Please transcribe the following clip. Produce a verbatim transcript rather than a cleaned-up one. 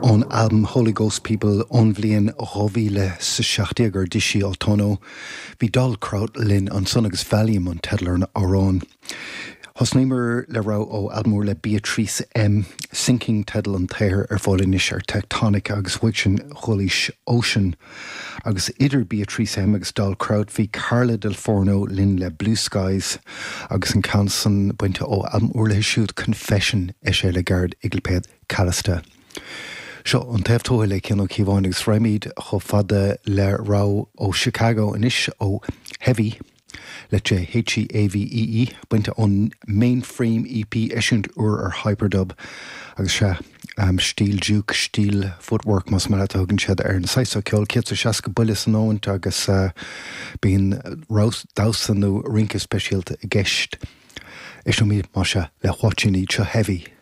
Ón albam Holy Ghost People ón bhliain dhá mhíle is a seacht déag ar d'eisigh Otono, bhí Doll Kraut linn ansan agus Valium an teideal ar an amhrán. Thosnaíomar le rogha ó albam úr le Beatrice M, Sinking teideal an tsaothair ar fáil anois ar Tectonic agus uaidh sin chualaís Ocean. Agus idir Beatrice M agus Doll Kraut bhí Carla Del Forno linn le Blue Skies agus an ceann san bainte ó albam úr léi siúd Confession eisithe le gairid ag lipéad Callista. Seo an Taobh Tuaithe le Cian Ó Cíobháin agus raghaimid chomh fada le rogha ó Chicago anois ó Heavee le H E A V E E bainte ón Mainframe E P eisiúint úr ar Hyperdub agus sé um, stíl juke, stíl footwork más mar a thugann siad ar an saghas ceoil céad seasca buille san nóimint agus uh, bíonn damhsa nó rince speisialta i gceist. Éistfimid mar sin le What You Need seo Heavee.